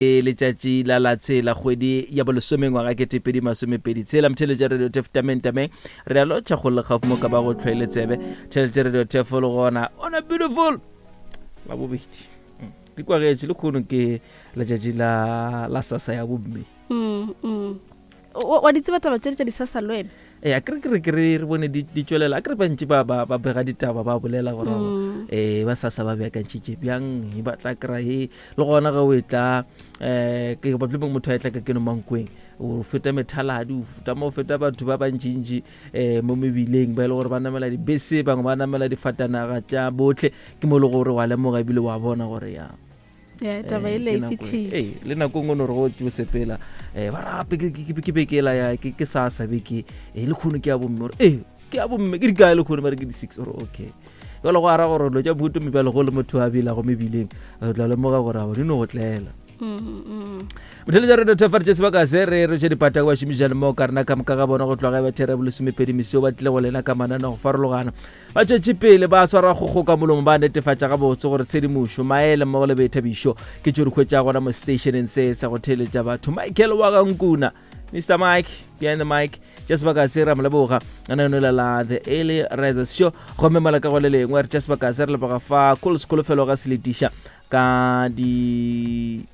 Ke letšatši la la tshela kgwedi ya bolesome ngwaga 2026 tshela mtheletša radio tef tameng tameng re a lotšha go le gaufi mo ka ba go tlhwaile tsebe theletša radio tef le gona ona beautiful la bobedi mm. di kwagetše le kgono ke letšatši la la sasa ya bomme mm, mm. Wa di tseba taba tše tša disasa le wena? Ee, a kere kere kere re bone di di tšwelela a kere bantši ba ba ba bega ditaba ba bolela gore mm. eh ba sasa ba beakantšhitše bjang e ba tla kry he le gona ge o e tla um ke batle motho a e tla ka keno mankweng o feta methaladi o feta mo feta batho ba bantšintši um mo mebileng ba e le gore ba namela dibese bangwe ba namela difatanaga tša botlhe ke mo e le gore wa lemoga ebile wa bona gore ya Yeah, taba eh, ele e fitlhile ee le nako nngwe no re go o sepela um ba rape ke bekela ya ke sa sa beke e le kgono ke ya bomme gore ee ke ya bomme ke dikae le kgono ba re ke di-six ore okay jalo go ara gore dilo tša bohuto mebjalo go le motho a belago mebileng re tla lemoga gore abo di no go tlela motheletša radio thefare tše sebaka se re re tše dipata ba šomišane mo ka rena ka moka ga bona go tloga ba thera bolesomepedi mesio ba tlile go lena ka manane go farologana Ba tšwetše pele ba swara kgokgo ka molomo ba netefatša gabotse gore tshedimošo, maele mmogo le boithabišo ke tšeo di hwetšago gona mo seteišeneng se sa go theeletša batho. Michael wa ga Nkuna, Mr Mike behind the mic, tša sebaka se ra mo leboga lenaneo la The Early Risers Show. Gomme mola ka go le lengwe re tša sebaka se re leboga fa Cool Sekholofelo ga Seletiša ka di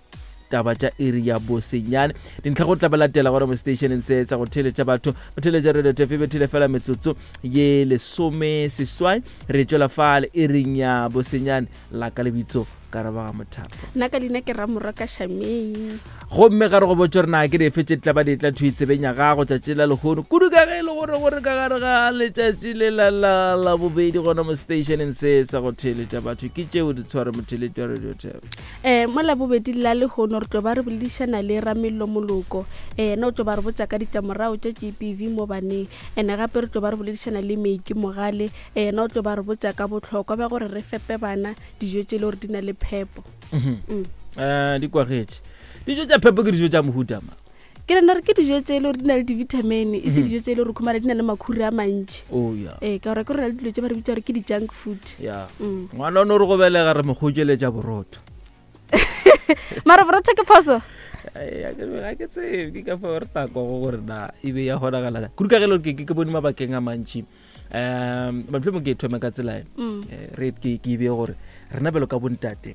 taba tša iri ya bosenyane dintlha go tla ba latela gona mo stationeng se sa go theeletša batho go theeletša radio tefe bethile fela metsotso ye lesome seswai re tšwela fale iring ya bosenyane la ka lebitso ka raba ga mothapo nna ka leina ke ramorwa ka shameng gomme ga re go botse gore na ke dife tše di tla ba di tla thwi tsebeng ya gago tšatši la lehono kudu ka ge e le gore gore ka gare ga letšatši le la la la bobedi gona mo stationeng se sa go theeletša batho ke tšeo di tshware motheeletši wa radio tap Um mo Labobedi la lehono re tlo ba re boledišana le Ramello Moloko, eh, yena o tlo ba re botša ka ditlamorago tša GBV mo baneng. Ene gape re tlo ba re boledišana le Meiki Mogale, eh, yena o tlo ba re botša ka bohlokwa bja gore re fepe bana dijo tše le gore di na le phepo. Mm. Eh, di kwagetše dijo tša phepo ke dijo tša mohuta ma Ke nagana gore ke dijo tše e le gore di na le di-vitamin e se dijo tše e le gore khumana di na le makhura a mantši. oh ya Ee, ka gore ke gore na le dilo tše ba re bitša gore ke di-junk food. ya Mm. ngwana o no re go belega re mo kgokeletša borotho Mara borotho ke phoso? Ai, a ke ga ke tsebe ke ka fao re takwago gore na e be ya kgonagala kudu ka ge le gore ke ke bone mabakeng a mantši um mohlomong ke e thome ka tsela e Mm. Eh, re ke ke e beye gore rena bjalo ka bontate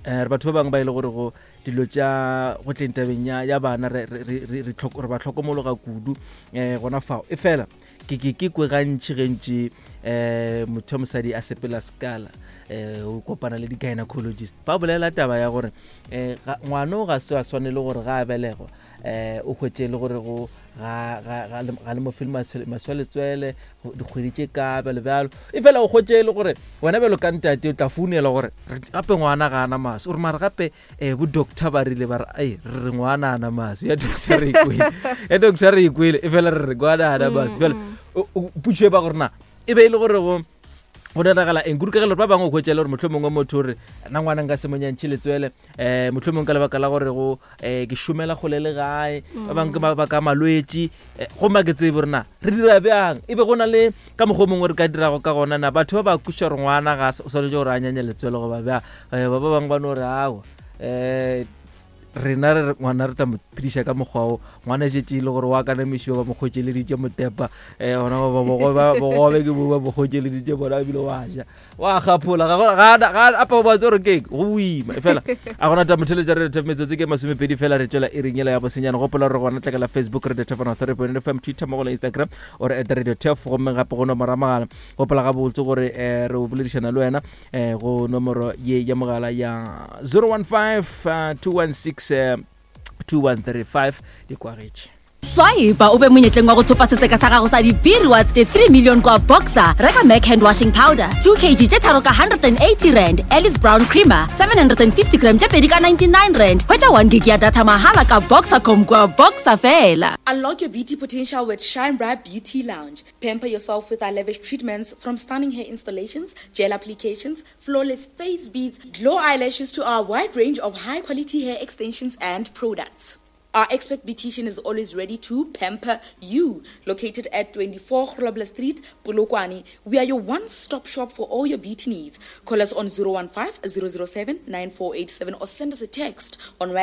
um re batho ba bangwe ba e le gore go dilo tša go tleng tabeng ya, ya bana re, re, re, re, re, re ba hlokomologa kudu um gona fao e fela ke ke ke kwe gantši gantši um motho wa mosadi a sepela sekala um o kopana le di-gynecologist ba bolela taba ya gore um ngwana o ga se a swanele gore ga a belegwa um o hwetše e le gore go ga ga ga le ga le mo fele maswi a letswele dikgwedi tše ka bjalo bjalo e fela o hwetše e le gore wena bjalo ka ntate o tla founela gore gape ngwana ga ana maswi ore mara gape um bo doctor ba rile ba re ai re re ngwana ana maswi ya doctor re ikwele ya doctor re ikwele e fela re re ngwana ana maswi fela putšo e ba gore na e be e le gore go go diragala eng kudu ka ge le gore ba bangwe o hwetša e le gore mohlomongwe motho o re na ngwana nka se mo nyantšhe letswele um mohlomongwe ka lebaka la gore go um ke šomela kgole le gae ba bangwe ke mabaka a malwetši eh, gomme a ke tsebe gore na re dira bjang e be go na le ka mokgwa o mongwe re ka dirago ka gona na batho ba ba kweša gore ngwana ga o swanetše gore a nyanye letswele goba bjang um ba ba bangwe ba no re awa um rena re ngwana re tla mo phediša ka mokgwa o ngwana e šetše e le gore wa kanamišiwa ba mo kgotšeleditše motepa um gona bogobe ke bo ba mo kgotšeleditše bona ebile wa ja wa gaphola apa o batse gore keng go boima e fela a gona ta motheletša re tef metsotso ke masomepedi fela re tšwela e ring ela ya bosenyane gopola gore gona tlakela facebook radio tef ona three point fm twitter mo go la instagram ore at radio tef gomme gape go nomoro ya mogala gopola gabotse gore um re o boledišana le wena eh, go nomoro ye ya mogala ya 015 216 2135 di kwagetše Swipe o be monyetleng wa go thopa setseka sa gago sa di-B-rewards tše 3 million kwa Boxer. Reka Mac hand washing powder 2 kg tše tharo ka 180 rand, Alice Brown creamer 750 gram tše pedi ka 99 rand. Hwetša 1 gig ya data mahala ka Boxercom kwa Boxer fela. Unlock your beauty potential with Shine Bright Beauty Lounge. Pamper yourself with our lavish treatments from stunning hair installations, gel applications, flawless face beads, glow eyelashes to our wide range of high quality hair extensions and products. Our expert beautician is always ready to pamper you. Located at 24 Grobler Street, Polokwane, we are your one-stop shop for all your beauty needs. Call us on 015 007 9487 or send us a text on WhatsApp.